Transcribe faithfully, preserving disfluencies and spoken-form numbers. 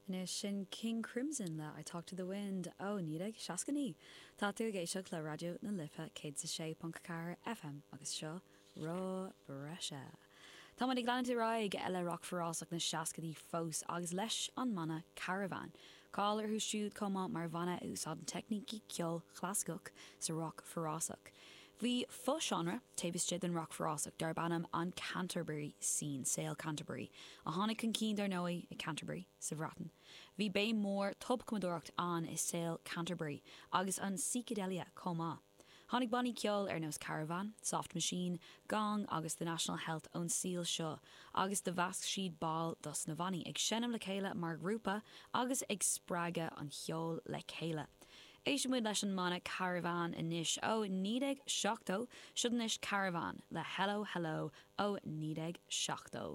Anois sin King Crimson le I Talk to the Wind ó naoi déag seasca naoi. Tá tú ag éisteacht le Raidió na Life céad is a sé ponc ceathair FM agus seo Rogha Breise. Tá muid ag leanúint ar aghaidh le rac forásach na seascaidí fós agus leis an mbanna Caravan. Cáil orthu siúd chomh maith mar bhanna a úsáideann teicnící ceoil chlasaiceach sa rock forásach. Bhí fo-seánra taobh istigh den rock forásach darb ainm an Canterbury Scene, saol Canterbury, a tháinig chun cinn dar ndóigh i Canterbury sa Bhreatain. Bhí béim mór tobchumadóireacht ann i saol Canterbury agus an psychedelia chomh maith. Tháinig bannaí ceoil ar nós Caravan, Soft Machine, Gong agus The National Health ón saol seo agus do mheasc siad baill dos na bannaí ag seinm le chéile mar ghrúpa agus ag spreagadh an cheoil le chéile. Éistfidh muid leis an mbanna Caravan anois ó naoi déag seachtó, seo anois Caravan le Hello Hello ó naoi déag seachtó.